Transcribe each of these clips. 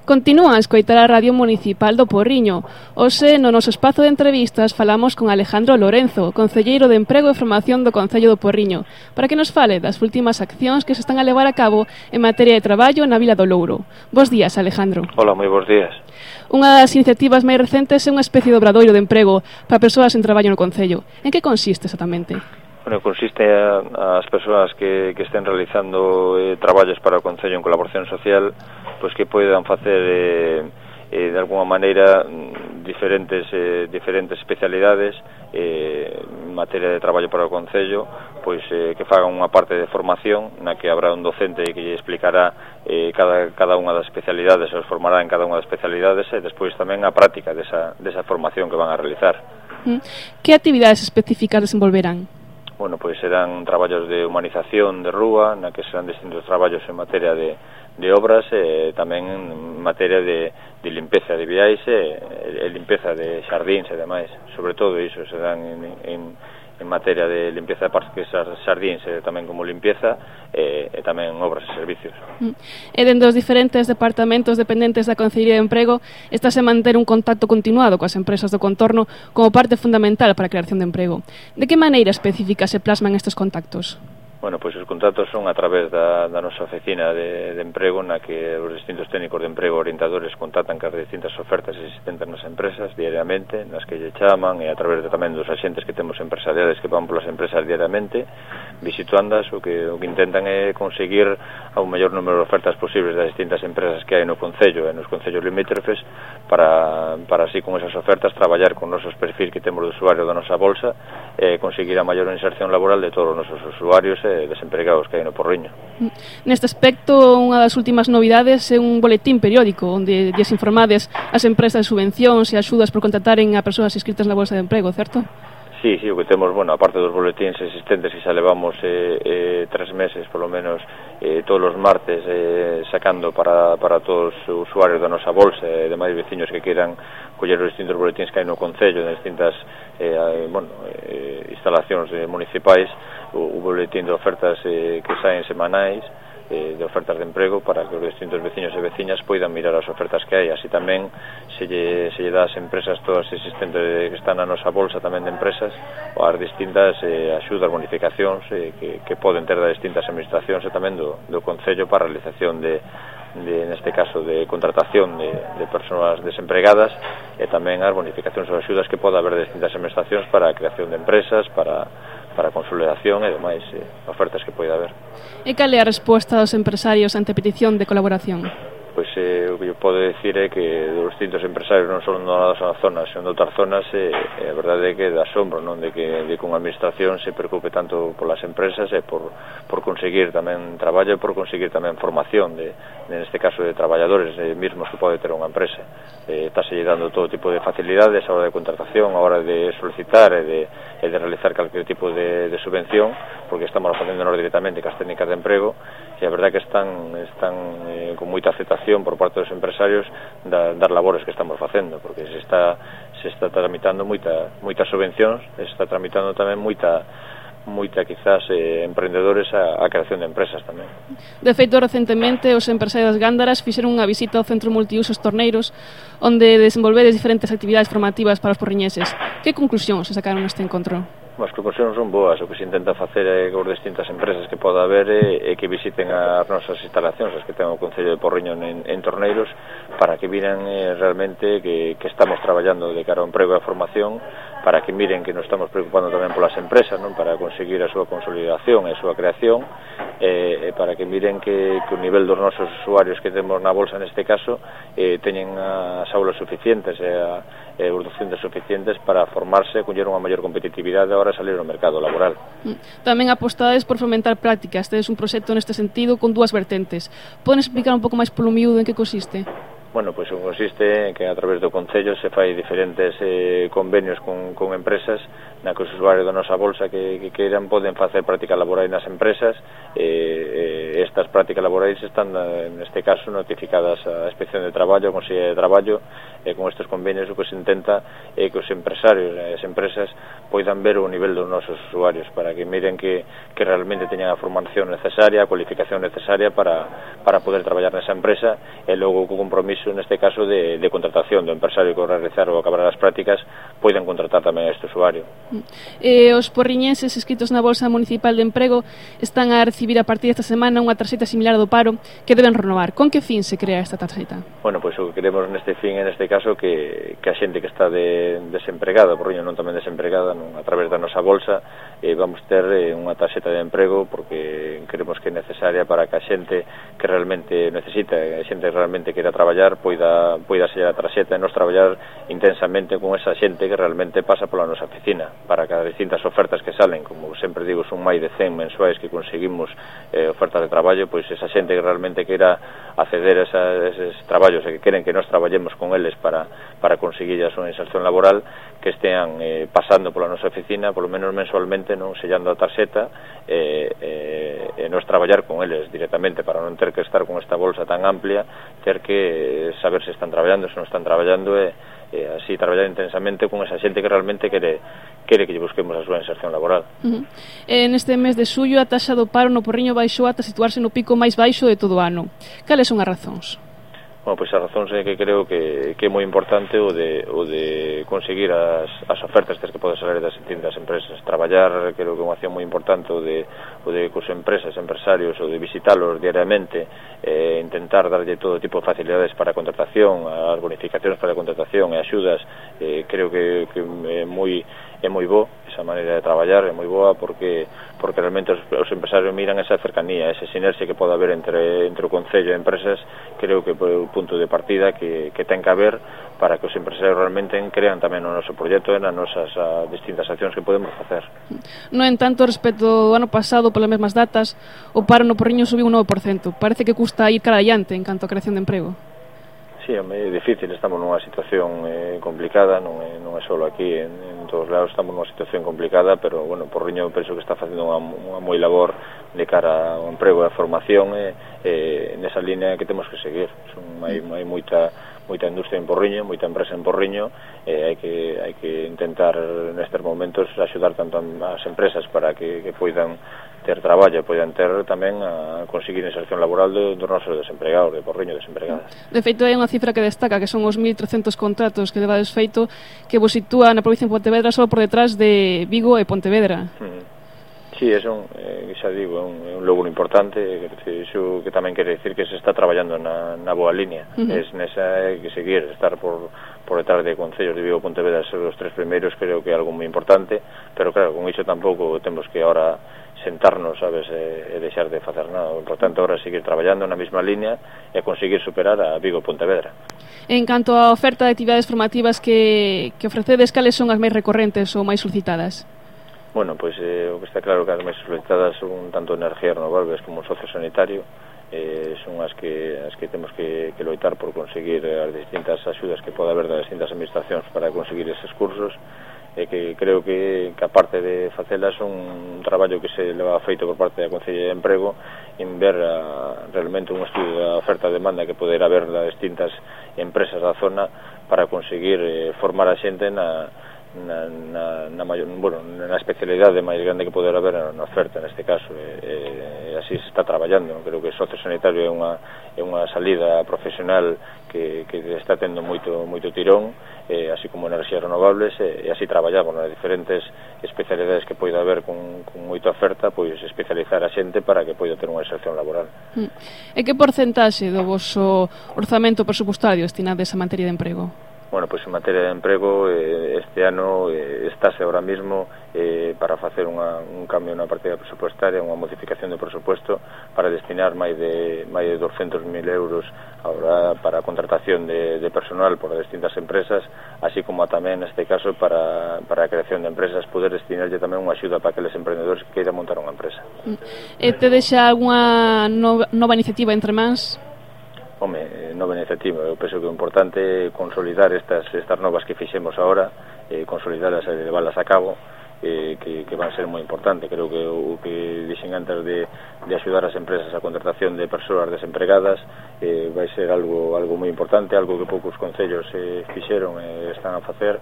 Continúan a escoitar a Radio Municipal do Porriño. Hoxe, no noso espazo de entrevistas, falamos con Alejandro Lorenzo, concelleiro de Emprego e Formación do Concello do Porriño, para que nos fale das últimas accións que se están a levar a cabo en materia de traballo na Vila do Louro. Bos días, Alejandro. Hola, moi bons días. Unha das iniciativas máis recentes é unha especie de obradoiro de emprego para persoas en traballo no Concello. En que consiste exactamente? Bueno, consiste as persoas que estén realizando traballos para o Concello en colaboración social, pois que poidan facer de alguma maneira diferentes especialidades en materia de traballo para o Concello, pois que fagan unha parte de formación na que habrá un docente que lle explicará cada unha das especialidades, os formará en cada unha das especialidades e despois tamén a práctica desa formación que van a realizar. Que actividades específicas desenvolverán? Bueno, pois serán traballos de humanización de rúa, na que serán distintos traballos en materia de obras e tamén en materia de limpeza de viais e limpeza de xardíns e demais. Sobre todo iso serán en materia de limpeza de parques xardíns e tamén como limpeza e tamén obras e servicios. E dentro dos diferentes departamentos dependentes da Concellería de Emprego estase a manter un contacto continuado coas empresas do contorno como parte fundamental para a creación de emprego. De que maneira específica se plasman estes contactos? Bueno, pois os contactos son a través da nosa oficina de emprego, na que os distintos técnicos de emprego orientadores contactan cas distintas ofertas existentes nas empresas diariamente, nas que lle chaman, e a través tamén dos axentes que temos empresariales que van polas empresas diariamente, visitándoas, o que intentan é conseguir a un maior número de ofertas posibles das distintas empresas que hai no Concello e nos Concellos limítrofes para así con esas ofertas traballar con nosos perfis que temos de usuario da nosa bolsa e conseguir a maior inserción laboral de todos os nosos usuarios desempregados que hai no Porriño. Neste aspecto, unha das últimas novidades é un boletín periódico onde lles informades as empresas de subvencións e axudas por contrataren a persoas inscritas na Bolsa de Emprego, certo? Sí, o que temos, bueno, aparte dos boletíns existentes que xa levamos 3 meses, polo menos, todos os martes sacando para todos os usuarios da nosa bolsa e demais veciños que queiran coller os distintos boletíns que hai no Concello, de distintas instalacións municipais, o boletín de ofertas que saen semanais, de ofertas de emprego, para que os distintos veciños e veciñas poidan mirar as ofertas que hai. Así tamén se lle dá ás empresas todas existentes que están na nosa bolsa tamén de empresas, ou as distintas axudas, bonificacións que poden ter das distintas administracións e tamén do Concello para a realización neste caso de contratación de persoas desempregadas, e tamén as bonificacións ou axudas que poda haber de distintas administracións para a creación de empresas, para a consolidación e demais ofertas que poida haber. E cal é a resposta dos empresarios ante a petición de colaboración? Pois o que eu podo decir é que os distintos empresarios non só na nosa zona, senón de outras zonas, a verdade é que dá asombro, non, de que unha administración se preocupe tanto polas empresas e por conseguir tamén traballo e por conseguir tamén formación neste caso de traballadores mesmos que pode ter unha empresa. Estáse dando todo tipo de facilidades a hora de contratación, a hora de solicitar e de realizar calquer tipo de subvención, porque estamos facéndonos directamente cas técnicas de emprego, e a verdade que están con moita aceptación por parte dos empresarios das labores que estamos facendo, porque se está tramitando moitas subvencións, se está tramitando tamén moita quizás emprendedores a creación de empresas tamén. De feito, recentemente os empresarios das Gándaras fixeron unha visita ao Centro Multiusos Torneiros, onde desenvolvedes diferentes actividades formativas para os porriñeses. Que conclusións se sacaron neste encontro? As conclusións son boas. O que se intenta facer con distintas empresas que poda haber é que visiten as nosas instalacións, as que ten o Concello de Porriño en Torneiros, para que miren realmente que estamos traballando de cara ao emprego e a formación, para que miren que nos estamos preocupando tamén polas empresas, non, para conseguir a súa consolidación e a súa creación, e para que miren que o nivel dos nosos usuarios que temos na bolsa neste caso teñen as aulas suficientes e os docentes suficientes para formarse e coller unha maior competitividade a hora de salir ao mercado laboral. Tamén apostades por fomentar prácticas. Tedes un proxecto neste sentido con dúas vertentes. Poden explicar un pouco máis polo miúdo en que consiste? Bueno, pois consiste en que a través do Concello se fai diferentes convenios con empresas na que os usuarios da nosa bolsa que queiran poden facer prácticas laborais nas empresas. Estas prácticas laborais están, neste caso, notificadas á Inspección de Traballo, ao Consello de Traballo, e con estes convenios o que se intenta é que os empresarios e as empresas poidan ver o nivel dos nosos usuarios, para que miren que realmente teñan a formación necesaria, a cualificación necesaria para poder traballar nesa empresa, e logo co compromiso permiso, neste caso, de contratación do empresario que realizar ou acabar as prácticas, poden contratar tamén a este usuario. Os porriñenses inscritos na Bolsa Municipal de Emprego están a recibir a partir desta semana unha tarxeta similar do paro que deben renovar. Con que fin se crea esta tarxeta? Bueno, pois o que queremos neste fin, neste caso, que a xente que está desempregada, porriño non tamén desempregada, a través da nosa bolsa, vamos ter unha tarxeta de emprego, porque queremos que é necesaria para que a xente que realmente necesita, a xente que realmente queira traballar, poida sellar a tarxeta e nos traballar intensamente con esa xente que realmente pasa pola nosa oficina, para que as distintas ofertas que salen, como sempre digo, son máis de 100 mensuais que conseguimos ofertas de traballo, pois esa xente que realmente queira acceder a eses traballos e que queren que nos traballemos con eles para conseguir a súa inserción laboral, que estean pasando pola nosa oficina, polo menos mensualmente, non sellando a tarxeta e nos traballar con eles directamente, para non ter que estar con esta bolsa tan amplia, ter que saber se están traballando, se non están traballando, e así traballar intensamente con esa xente que realmente quere que lle busquemos a súa inserción laboral. Neste mes de xullo, a taxa do paro no Porriño baixou ata situarse no pico máis baixo de todo o ano. Cales son as razóns? Bueno, pois a razón é que creo que é moi importante o de conseguir as ofertas que poden salir das distintas empresas. Traballar, creo que é unha acción moi importante o de cos empresas, empresarios, o de visitalos diariamente, intentar darlle todo tipo de facilidades para a contratación, as bonificacións para a contratación e axudas. Creo que é moi bo esa maneira de traballar, é moi boa porque realmente os empresarios miran esa cercanía, esa sinerxia que pode haber entre o Concello e empresas. Creo que é o punto de partida que ten que haber para que os empresarios realmente crean tamén no noso proxecto e nas nosas distintas accións que podemos facer. No entanto, respecto ao ano pasado, polas mesmas datas, o paro no Porriño subiu un 9%. Parece que custa ir cara adiante en canto a creación de emprego. Sí, é difícil, estamos nunha situación complicada, non é só aquí, en todos lados estamos nunha situación complicada, pero, bueno, Porriño penso que está facendo unha moi labor de cara ao emprego e a formación, nesa línea que temos que seguir. Hai moita industria en Porriño, moita empresa en Porriño, hai que intentar nestes momentos axudar tanto as empresas para que poidan ter traballo, poidan ter tamén a conseguir inserción laboral dos nosos desempregados, de Porriño desempregadas. De feito, hai unha cifra que destaca, que son os 1.300 contratos que levades feito, que vos sitúa na provincia de Pontevedra só por detrás de Vigo e Pontevedra. Sí, xa digo, é un logro importante, iso que tamén quere dicir que se está traballando na boa línea. Nesa hai que seguir, estar por detrás de concellos de Vigo e Pontevedra, ser os tres primeiros, creo que é algo moi importante, pero claro, con iso tampouco temos que ahora sentarnos, sabes, e deixar de facer nada. O importante agora é seguir traballando na mesma línea e conseguir superar a Vigo e Pontevedra. En canto á oferta de actividades formativas que ofrecedes, cales son as máis recorrentes ou máis solicitadas? Bueno, pois o que está claro que as máis solicitadas son tanto energías renovables como o sociosanitario, son as que temos que loitar por conseguir as distintas axudas que pode haber das distintas administracións para conseguir eses cursos, e que creo que aparte de facelas son un traballo que se leva feito por parte da Concellería de Emprego en ver realmente un estudio da oferta e demanda que poder haber das distintas empresas da zona para conseguir formar a xente na especialidade máis grande que poder haber na oferta neste caso, e así se está traballando. Creo que o sociosanitario é unha salida profesional que está tendo moito tirón, así como enerxías renovables, e así traballamos nas diferentes especialidades que poida haber con moita oferta, pois especializar a xente para que poida ter unha inserción laboral. E que porcentaxe do voso orzamento presupuestario destinades a materia de emprego? Bueno, pois en materia de emprego este ano estáse ahora mismo para facer un cambio na partida presupuestaria, unha modificación do presupuesto para destinar máis de 200.000 euros ahora para a contratación de personal por as distintas empresas, así como tamén neste caso para a creación de empresas, poder destinarlle tamén unha axuda para aqueles emprendedores que queiran montar unha empresa. E te deixa algunha nova iniciativa entre mans? Home, nova iniciativa, eu penso que o importante é consolidar estas novas que fixemos agora, consolidarlas e levarlas a cabo, que van a ser moi importante. Creo que o que dixen antes de axudar as empresas a contratación de persoas desempregadas vai ser algo moi importante, algo que poucos concellos fixeron e están a facer.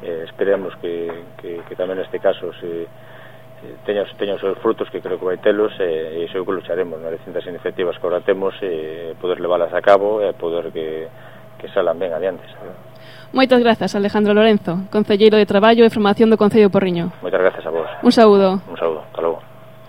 Esperemos que tamén neste caso teña os seus frutos, que creo que vai telos, e iso é o que lucharemos nas distintas iniciativas que agora temos, poder leválas a cabo e poder que salan ben adiante, sabe? Moitas grazas, Alejandro Lorenzo, concelleiro de Traballo e Formación do Concello de Porriño. Moitas grazas a vos. Un saúdo. Un saúdo.